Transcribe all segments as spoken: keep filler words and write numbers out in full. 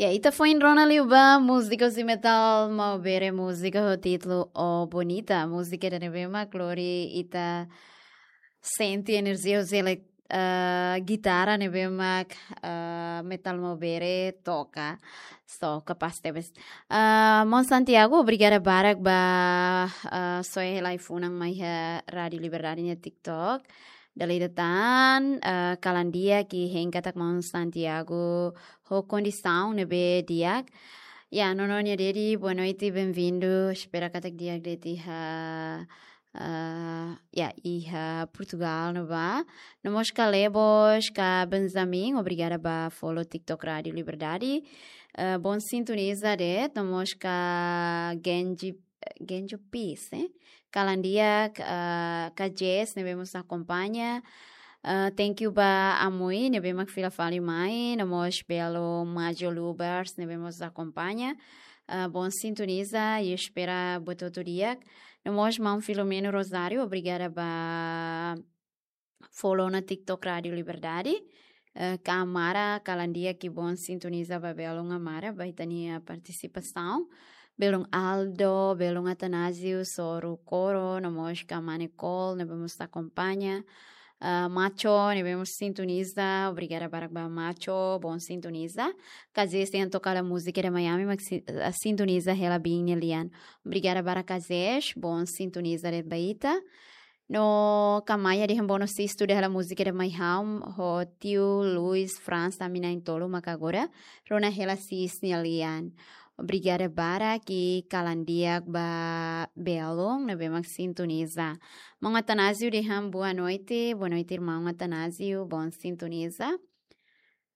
Ya, ita foin rona liu ba múzika husi Metal Maubere, múzika ho títulu O Bonita. Múzika ida ne'ebé mak lori ita sente enerjia husi elek-, eh, gitara ne'ebé mak, eh, Metal Maubere toka. So, kapás tebes. Eh, Maun Santiago, obrigada barak ba, eh, soe hela ai-funan mai iha Rádio Liberdade nia TikTok. Dala ida tan, eh, kalan di'ak, hein katak Maun Santiago ho kondisaun ne'ebé di'ak. Ya, nono nia dedi, boa noite, bem-vindo. Espera katak di'ak de'it iha, eh, ya, iha Portugal ne'ebá. No mós ka Lebos, ka Benjamin, obrigada ba follow TikTok Rádio Liberdade. Eh, bom sintoniza de'it, no mós ka Genji, Genjo Peace, eh? Kalan di'ak, eh, ka Jess, ne'ebé mós akompaña. Eh, thank you ba Amui, ne'ebé mak fila fali mai, no mós belu Majo Lubers, ne'ebé mós akompaña. Eh, bom sintoniza, i espera buat hotu di'ak. No mós maun Filomeno Rosário, obrigada ba follow ona TikTok Rádio Liberdade. Eh, ka Amara, kalan di'ak i bom sintoniza ba belun Amara, ba ita-nia partisipasaun. Belun Aldo, belun Atanásio, Soru Koro, no mós ka Mane Kol, ne'ebé mós akompaña. Eh, Macho, ne'ebé mós sintoniza, obrigada barak ba Macho, bom sintoniza. Ka Zes, tenke toka hela múzika ida mai ami, mak si-, eh, sintoniza hela biin nia lian. Obrigada barak ka Zes, bom sintoniza de'it ba ita. No ka Maia dehan bono Sistu, tuda hela múzika ida mai ha'u, ho tiu Luis Franz, ami na'in-tolu mak agora rona hela Sis nia lian. Obrigada barak i kalan di'ak ba belun ne'ebé mak sintoniza. Maun Atanásio dehan boa noite, boa noite, irmaun Atanásio, bom sintoniza.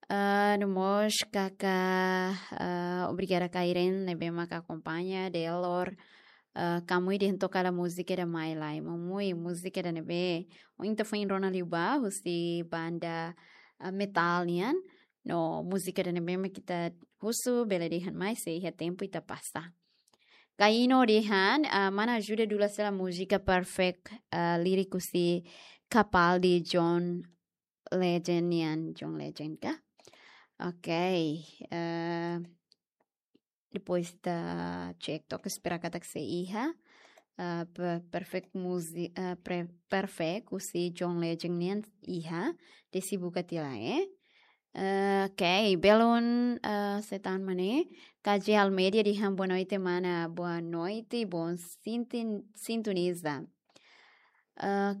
Ah, no mós kaka, ah, obrigada ka Irene ne'ebé mak akompaña, Delor. Ah, ka Mui dehan toka hela múzika ida mai lai. Maun Mui, múzika ida ne'ebé ohin ita foin rona liu ba, husi banda, ah, metal nian. No múzika ida ne'ebé mak ita husu, bele dehan mai, se iha tempu ita pasa. Ka Ino dehan, ah, mana ajuda dula sela múzika Perfect, ah, líriku husi Capaldi, John Legend nian, John Legend ka? Ok, eh, depois ita cek to'ok, espera katak sei iha, eh, pe-, Perfect Musi-, eh, pre-, Perfect husi John Legend nian iha, desi buka tiha lai, eh. Eh, ok, belun, eh, Setan Mane, K J Almeida dehan boa noite, mana, boa noite, bom sintin-, sintoniza. Eh,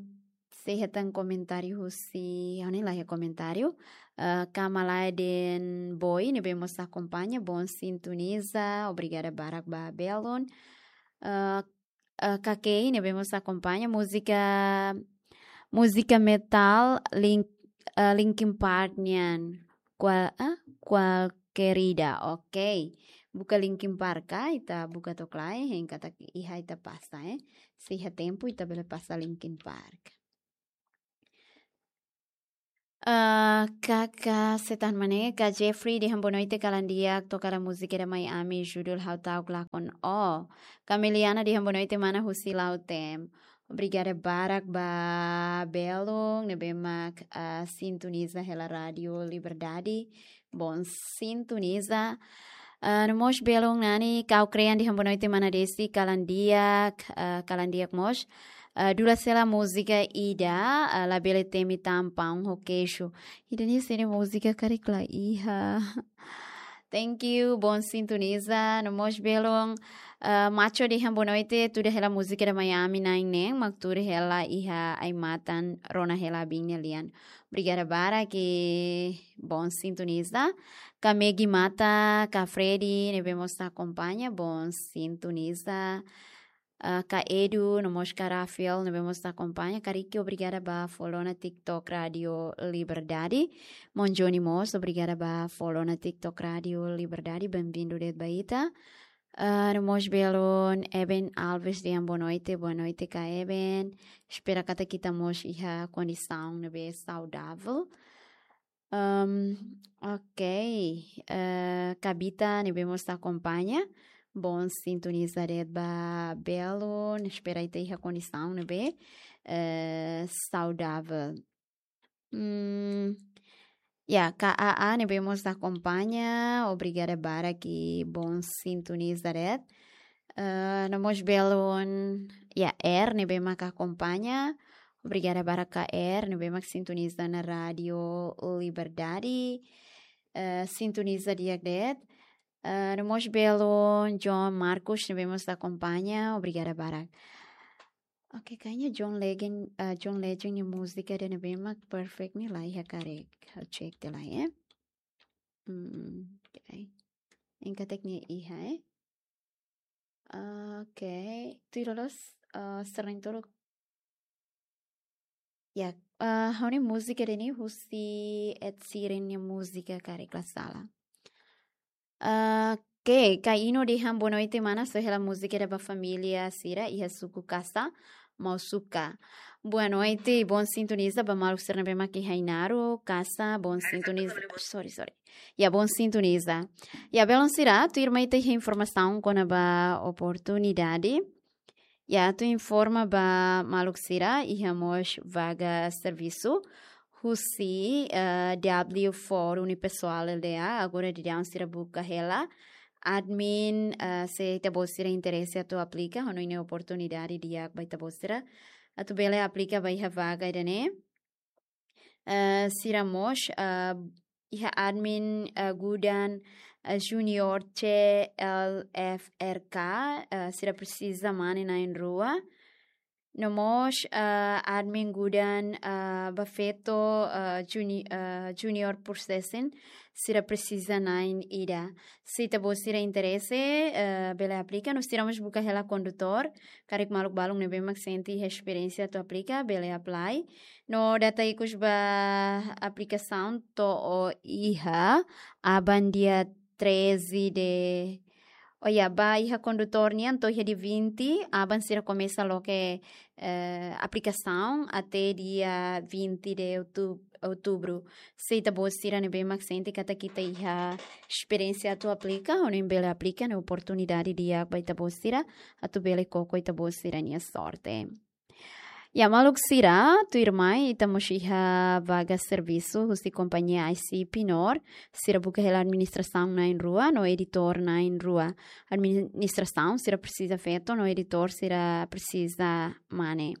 sei hetan komentáriu husi, ha'u-nia la iha komentáriu. Eh, Kamala Den Boy, ne'ebé mós akompaña, bom sintoniza, obrigada barak ba belun. Eh, eh, Kakei, ne'ebé mós akompaña, múzika, múzika metal Link-, eh, Linkin Park nian. Cual, ah, Cual Querida, ok. Buka Linkin Park ka, ita buka to'ok lai, hein katak iha ita pasa, eh. Se iha tempu, ita bele pasa Linkin Park. Eh, Kaka Setan Mane, Ka Jeffrey dehan boa noite, kalan di'ak, toka hela múzika ida mai ami, judul Ha'u Ta'uk Lakon Ó. Kameliana dehan boa noite, mana, husi Lautém. Obrigada barak ba belun ne'ebé mak, ah, sintoniza hela Rádio Liberdade. Bom sintoniza. Ah, no mós belun Nani Kau Krean dehan boa noite, mana Desi, kalan di'ak, ah, kalan di'ak mós. Ah, dula sela múzika ida, ah, Labele Temi Tan Paun ho Keiju. Ida-ne'e sira-nia múzika karik la iha. Thank you, bom sintoniza. No mós belun, eh, Macho dehan boa noite, tuda hela múzika ida mai ami na'in-neen, mak tuur hela iha ai-matan, rona hela biin nia lian. Obrigada barak i bom sintoniza. Ka Megi Mata, Ka Freddy, ne'ebé mós akompaña, bom sintoniza. Ah, Ka Edu, no mós Ka Rafael, ne'ebé mós akompaña. Ka Ricky, obrigada ba follow ona TikTok Rádio Liberdade. Maun Johnny mós, obrigada ba follow ona TikTok Rádio Liberdade. Bem-vindo de'it ba ita. Ah, no mós belun Eben Alves dehan boa noite, boa noite Ka Eben. Espera katak ita mós iha kondisaun ne'ebé saudável. Ahm, ok. Eh, Kabita ne'ebé mós akompaña. Bom sintoniza de'it ba belun. Espera ita iha kondisaun ne'ebé, eh, saudável. Hmm, Ya, K A A ne'ebé mós akompaña, obrigada barak i bom sintoniza de'it. Eh, no mós belun, ya, R ne'ebé mak akompaña, obrigada barak K R ne'ebé mak sintoniza ona Rádiu Liberdade. Eh, sintoniza di'ak de'it. Eh, no mós belun John Marcos ne'ebé mós akompaña, obrigada barak. Oke, kayaknya John Legend, eh, John Legend nia múzika ida ne'ebé mak perfect ne'e la iha karik. Ha'u cek tiha lai, eh. Hmm, oke. Enka tek nia iha, eh. Oke, tuir loloos, eh, sering tolok. Ya, eh, ha'u-nia múzika ida-ne'e husi Ed Sheeran nia múzika karik la sala. Eh, oke, Kaino dehan boa noite mana, só hela múzika ida ba família sira iha suku Kasa, Mausuka. Boa noite, bom sintoniza ba maluk sira ne'ebé mak iha Ainaro, Kasa, bom sintoniza. Sorry, sorry. Ya, bom sintoniza. Ya, belun sira, tuirmai ita iha informasaun kona-ba oportunidade. Ya, atu informa ba maluk sira, iha mós vaga servisu husi, eh, W four Unipessoal L D A, agora daudaun sira buka hela admin, eh, se ita-boot sira interese atu aplika, ha'u hanoin ne'e oportunidade di'ak ba ita-boot sira atu bele aplika ba iha vaga ida-ne'e. Eh, sira mós, eh, iha admin, eh, Gudan, eh, Junior C L F R K, eh, sira presiza mane na'in rua. No mós, eh, admin Gudan, eh, ba feto, eh, juni-, eh, Junior Processing, sira presiza na'in ida. Se ita-boot sira interese, eh, bele aplika, no sira mós buka hela kondutór, karik maluk balun ne'ebé mak sente iha esperiénsia atu aplika, bele apply. No data ikus ba aplikasaun to'o iha aban dia treze de, oh ya, ba iha kondutór nian to'o iha dia vinte, aban sira komesa loke, eh, aplikasaun até dia vinte de outu-, outubro. Se ita-boot sira ne'ebé mak sente katak ita iha esperiénsia atu aplika, ha'u hanoin bele aplika, ne'e oportunidade di'ak ba ita-boot sira atu bele koko ita-boot sira-nia sorte. Ya, maluk sira, tuirmai ita mós iha vaga servisu husi kompañia I C Pinor, sira buka hela administrasaun na'in rua, no editór na'in rua. Administrasaun sira presiza feto, no editór sira presiza mane.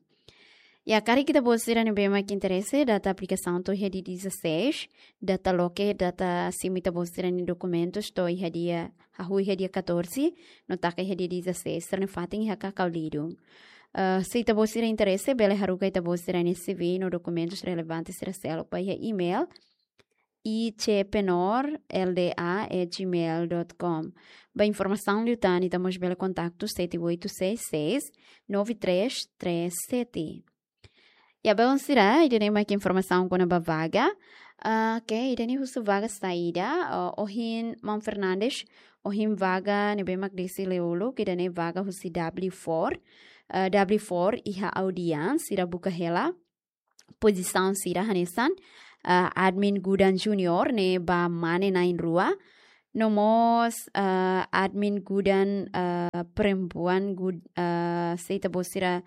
Ya, karik ita-boot sira ne'ebé mak interese, data aplikasaun to'o iha dia dezasseis, data loke, data simu ita-boot sira-nia dokumentus to'o iha dia, hahú iha dia catorze, no taka iha dia dezasseis, sira-nia fatin iha Cacau Lillo. Eh, se ita-boot sira interese, bele haruka ita-boot sira-nia C V no dokumentus relevante sira seluk ba iha email I C Pinor L D A at gmail dot com. Ba informasaun liután ita mós bele kontaktu sete oito seis seis, nove três três sete. Ya, belun sira, ida-ne'e mak informasaun kona-ba vaga. Ah, oke, ida-ne'e husu vaga saida, ah, ohin Maun Fernandes, ohin vaga ne'ebé mak desi liu uluk, ida-ne'e vaga husi W four. Ah, W four iha Audian, sira buka hela pozisaun sira hanesan, ah, admin Gudan Junior ne'e ba mane na'in rua. No mós, ah, admin Gudan, ah, perempuan Gud-, ah, se ita-boot sira,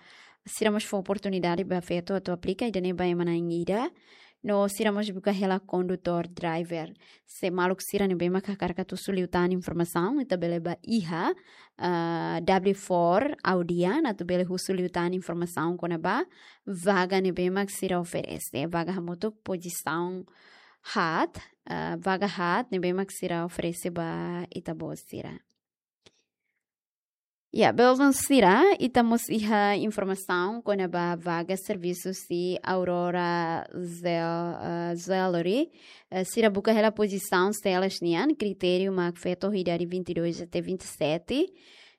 sira mós fó oportunidade ba feto atu aplika, ida-ne'e ba ema na'in ida. No sira mós buka hela kondutór, driver. Se maluk sira ne'ebé mak hakarak atu husu liután informasaun, ita bele ba iha, ah, W four Audian, atu bele husu liután informasaun kona-ba vaga ne'ebé mak sira oferese. Vaga hamutuk pozisaun haat, ah, vaga haat ne'ebé mak sira oferese ba ita-boot sira. Ya, belun sira, ita mós iha informasaun kona-ba vaga servisu husi Aurora Jewel-, ah, Jewelry. Eh, sira buka hela pozisaun selas nian, kritériu mak feto idade vinte e dois até vinte e sete.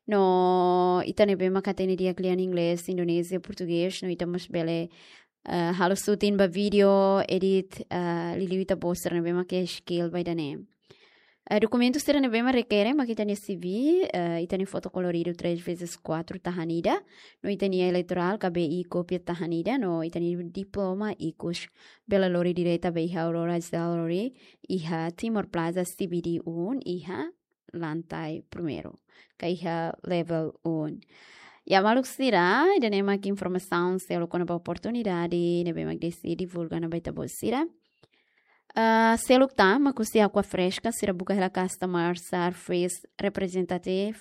No ita ne'ebé mak hatene di'ak lian inglés, indonézia, portugés, no ita mós bele, eh, halo shooting ba vídeo, edit, eh, liuliu ita-boot sira ne'ebé mak iha skill ba ida-ne'e. Eh, dokumentu sira ne'ebé mak rekere mak ita-nia C V, eh, ita-nia foto koloridu três vezes quatro tahan ida, no ita-nia eleitorál, K B I kópia tahan ida, no ita-nia diploma ikus. Bele lori direta ba iha Aurora Jewelry, iha Timor Plaza C B D um, iha lantai primeiru, ka iha level um. Ya, maluk sira, ida-ne'e mak informasaun seluk kona-ba oportunidade ne'ebé mak desi divulga ona ba ita-boot sira. Ah, seluk tan mak husi Aqua Fresca, sira buka hela customer service representative,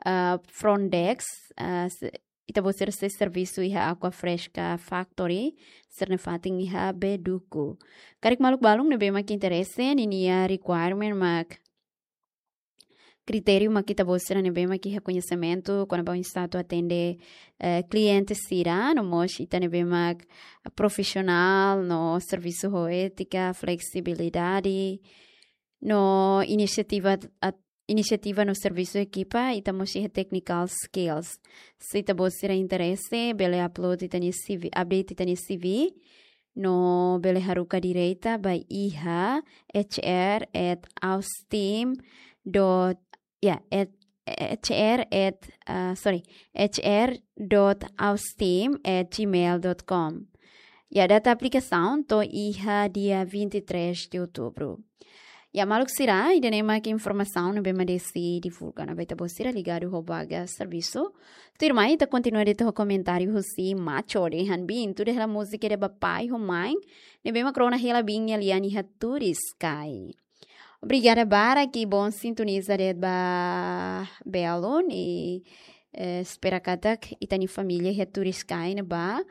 ah, front desk, ah, se-, ita-boot sira sei servisu iha Aqua Fresca Factory, sira-nia fatin iha Beduku. Karik maluk balun ne'ebé mak interese, ninia requirement mak kritériu mak ita-boot sira ne'ebé mak iha koñesimentu kona-ba oinsá atu atende, eh, kliente sira, no mós ita ne'ebé mak profisionál, no servisu ho étika, fleksibilidade, no inisiativa at-, inisiativa no servisu ekipa, ita mós iha technical skills. Se ita-boot sira interese, bele upload ita-nia C V, update ita-nia C V, no bele haruka direta ba iha H R at austeam dot, ya, at, H R at, ah, sorry, H R dot austeam at gmail dot com. Ya, data aplikasaun to'o iha dia vinte e três de outubro. Ya, maluk sira, ida-ne'e mak informasaun ne'ebé mak desi divulga ona ba ita-boot sira ligadu ho vaga servisu. Tuirmai, ita kontinua de'it ho komentáriu husi Macho, dehan bin tuda hela múzika ida ba pai ho mãe ne'ebé mak rona hela bin nia lian iha Turiscai. Obrigada barak, i bom sintoniza de'it ba belun, i, eh, espera katak ita-nia família iha Turiscai ne'ebá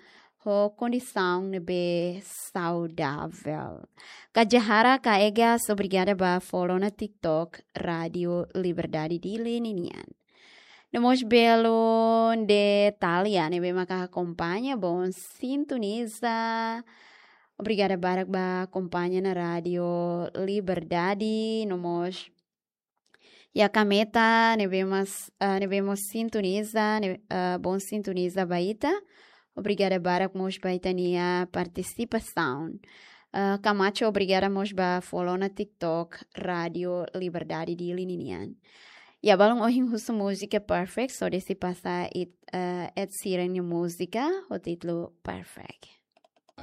ho kondisaun ne'ebé saudavel. Kak Jahara Kaegas, obrigada ba follow ona TikTok Rádio Liberdade Dili ninian. No mós belun de Itália ne'ebé maka akompaña, bom sintoniza. Obrigada barak ba akompaña ona Rádio Liberdade, no mós iha Kameta, ne'ebé mós, ah, ne'ebé mós sintoniza, ne-, ah, bom sintoniza ba ita. Obrigada barak mós ba ita-nia partisipasaun. Ah, Camacho, obrigada mós ba follow ona TikTok Rádio Liberdade Dili ninian. Ya, balun ohin husu múzika Perfect, so desi pasa it, ah, Ed Sheeran nia múzika ho títulu Perfect.